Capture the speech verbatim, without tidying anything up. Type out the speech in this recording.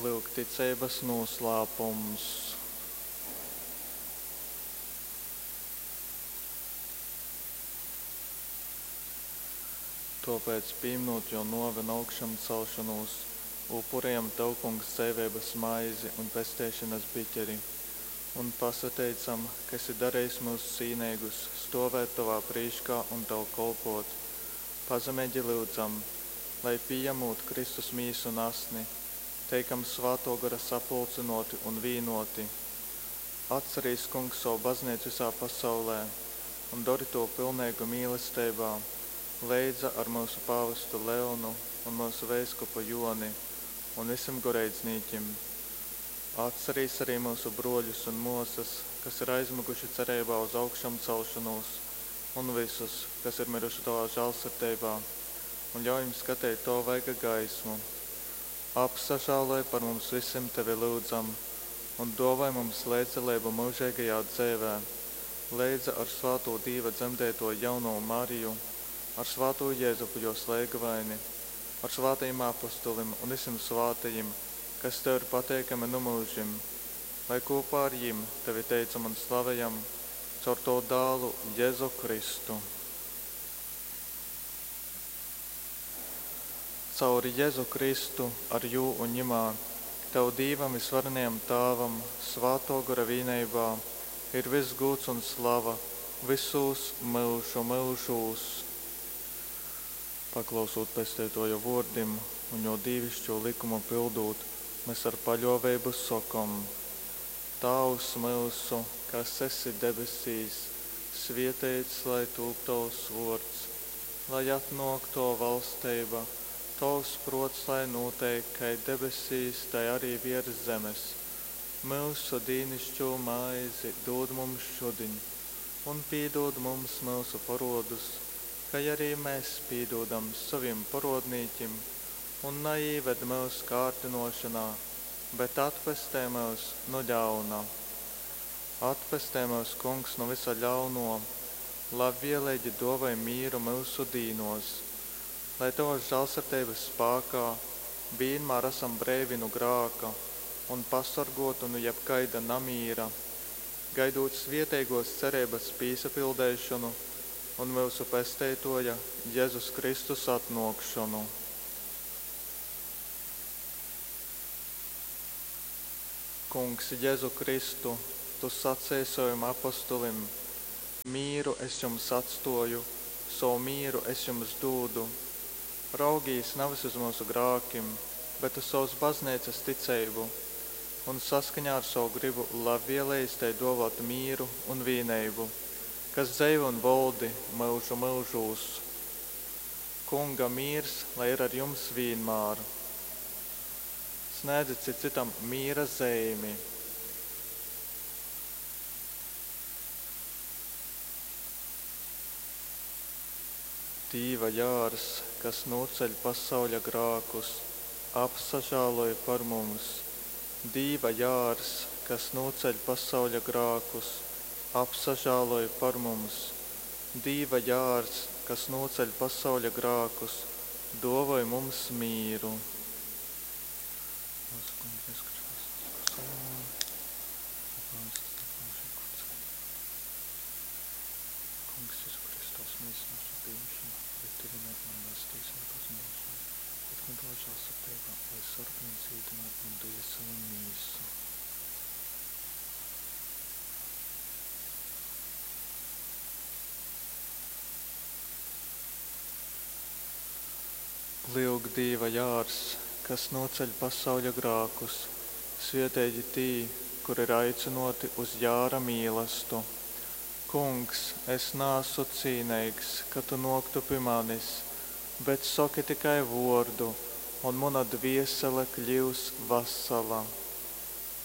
Lyuk ticeibas nūslāpums. Tōpēc, pīminūt Jō nōvi un augšamcelšonūs, upurejam Tev, Kungs, dzeiveibas maizi un pesteišonas biķeri un pasateicam, ka esi darejis myus cīneigus stōvēt Tovā prīškā un Tev kolpōt. Pazemeigi lyudzam, lai, pījamūt Kristus mīsu un asni, teikam Svātō Gora sapulcynōti un vīnōti. Atcerīs, Kungs, savu bazneicu visā pasaulē un dori tū pilneigu mīlesteibā, leidza ar myusu pāvestu Leonu un myusu veiskupu Joni un visim goreidznīkim. Atcerīs arī myusu brōļus un mōsas, kas ir aizmyguši cereibā uz augšamcelšonūs, un vysus, kas ir myruši Tovā žālsirdeibā, un ļauj jim skateit Tova vaiga gaismu. Apsažāloj par mums visim Tevi lyudzam un dōvoj mums leidzdaleibu myužeigajā dzeivē, leidza ar svātū Dīva dzemdeitoju jaunovu Mariju, ar svātū Jezupu jōs leigavaini, ar svātajim apostolim un visim svātajim, kas Tev ir pateikami nu myužim, lai kopā ar jim Tevi teicam un slavejam caur Tavu dālu Jēzu Kristu. Caur Jēzu Kristu, ar jū un ņimā, Tev Dīvam visvarenajam Tāvam, Svātō Gora vīneibā, ir viss gūds un slava visūs myužu myužūs. Paklausūt Pesteitoja vōrdim un jō dīvišķū likumu pildūt, mēs ar paļōveibu sokom: Tāvs myusu, kas esi debesīs, svieteits lai tūp Tovs vōrds, lai atnōk Tova valsteiba, Tovs prōts lai nūteik kai debesīs, tai arī viers zemes. Myusu dīnišķū maizi dūd mums šudiņ, un pīdūd mums myusu porodus, kai arī mēs pīdūdam sovim porodnīkim, un naīved myus kārdinošanā, bet atpestē myus nu ļauna. Atpestē myus, Kungs, nu visa ļauno, labvieleigi dōvoj mīru myusu dīnos, lai Tavas žālsirdeibas spākā vienmēr esam breivi nu grāka un pasorgotu nu jebkaida namīra, gaidot svieteigos cereibas pīsapildeišonu un myusu Pesteitoja Jēzus Kristus atnōkšonu. Kungs Jēzu Kristu, Tu sacēji savim apostolim: Mīru es jums atstoju, savu mīru es jums dūdu. Raugīs nevis uz mūsu grākim, bet uz savas baznīcas ticību, un saskaņā ar savu gribu labvēlējis tai dāvāt mīru un vienību, kas dzeivo un valdi mūžu mūžūs. Kunga mīrs, lai ir ar jums vienmēr. Sniedzit cits citam mīra zīmi. Dīva jārs, kas noceļ pasauļa grākus, apsažāloj par mums. Dīva jārs, kas noceļ pasauļa grākus, apsažāloj par mums. Dīva jārs, kas noceļ pasauļa grākus, dāvoj mums mīru. Mūsu Kunga Jēzus Kristus Kungs Jēzu Kristus mīsu mūsu pieņemšana, lai tevi man vēstīsim pazudīšanu, bet man tavā žēlsirdībā, lai sargā un dziedina man dvieseli un mīsu. Lyuk, Dīva jārs, kas noceļ pasauļa grākus, svietīgi tī, kur ir aicinoti uz jāra mīlastu. Kungs, es nāsu cīneigs, ka tu noktu pie manis, bet soki tikai vordu, un muna dviesele kļūs vasala.